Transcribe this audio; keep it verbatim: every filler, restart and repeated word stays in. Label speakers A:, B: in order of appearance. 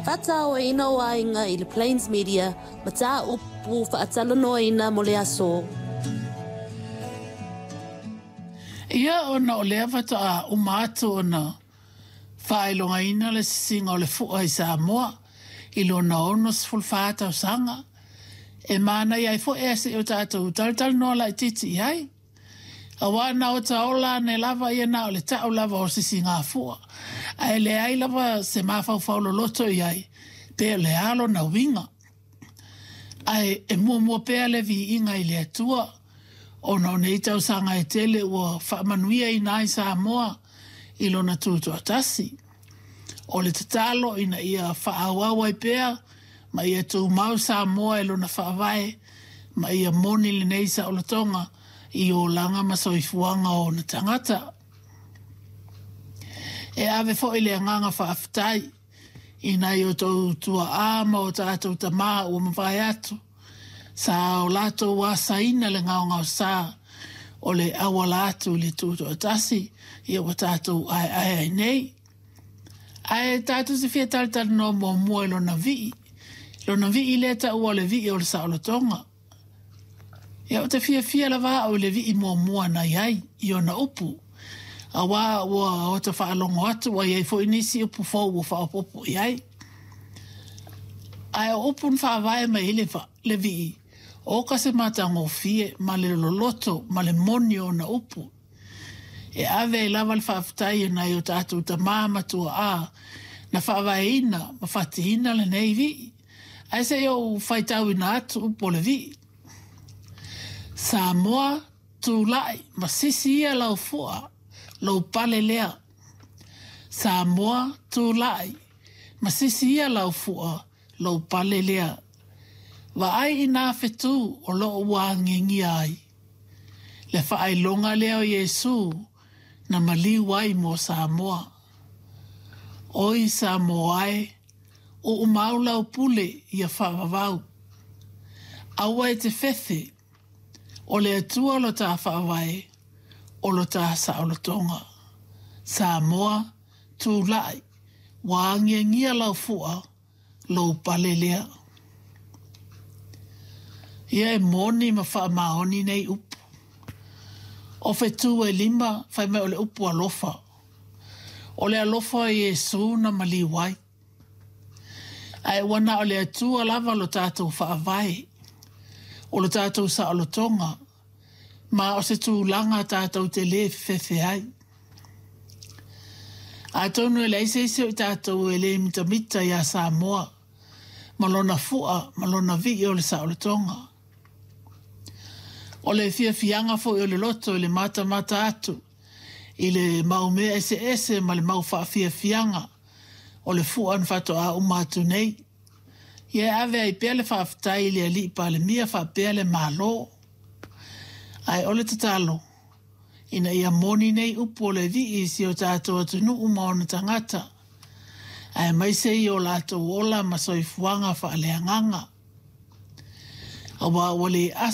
A: Faataoina o aiga i le Plains Media ma tā upu faatalanoaina mo le aso.
B: Ia ona o lea faatoa uma atu ona faailogaina le sisiga o le fua i Samoa i lona ono sefulu fa tausaga. E manaia ai foi ae se'i o tatou talatalanoa laitiiti i ai. Auā na ota ola ane lava ia na o le ta'u lava o sisigafua, ae leai lava se mafaufau loloto i ai pe o le a lona uiga. Ae e muamua pea le viiga i le Atua ona o nei tausaga e tele ua faamanuiaina ai Samoa i lona tutoatasi. O le tatalo ina ia faaauau ai pea ma ia tumau Samoa i lona faavae ma ia moni lenei saolotoga i olaga ma soifuaga o ona tagata. E ave foi le agaga faafetai i nai o outou tuaa ma o tatou tamā ua mavae atu, sa o latou asaina le gaogaosa o le auala atu i le tutoatasi ia ua tatou aeae ai nei. Ae tatou te fia talatalanoa muamua i lona vii, lona vii lea taua o le vii o le saolotoga. Ia ou te fiafia lava au i le vii muamua na i ai i ona upu, auā ua ota faalogo atu ua i ai foi nisi upu fou ua faaopoopo i ai. Ae o upu na faavae mai ai le, le vii, oka se matagofie ma le loloto ma le moni o ona upu. E ave ai lava le faafetai i nai o tatou tamā ma tuaa na faavaeina ma fatiina lenei vii. Ae se i ou faitauina atu upu o le vii. Samoa, tulai ma sisi ia lau fua, lou pale lea. Samoa, tulai ma sisi ia lau fua, lou pale lea. Vaai i nā whetū o loo ua agiagia ai. Le faailoga lea o Iesu na maliu ai mo Samoa. Oi Samoa e, uumau lau pule ia faavavau. Aua e te fefe, o le Atua lo tā faavae, o lo tā saolotoga. Samoa, tulai, ua agiagia lau fua, lou pale lea. Ia e moni ma faamaoni nei upu. O fetu e lima, fai mai o le upu alofa. O le alofa o Iesu na maliu ai. Ae ua na o le Atua lava lo tatou faavae, o lo tatou saolotoga, ma o se tulaga tatou te lē fefefe ai. Atonu e leai se isi o i tatou e lē mitamita iā Samoa ma lona fua ma lona vii o le saolotoga. O le fiafiaga foi o le loto i le matamata atu i le mau mea eseese ma le mau faafiafiaga o le fua na faatoa uma atu nei. Ia e ave ai pea le faafetai i le alii Palemia faapea le Malo. Ae o le tatalo, ina ia moni nei upu o le vii i si o tatou atunuu ma ona tagata, aemaise i o latou ola ma soifuaga faaleagaga. Auā ua le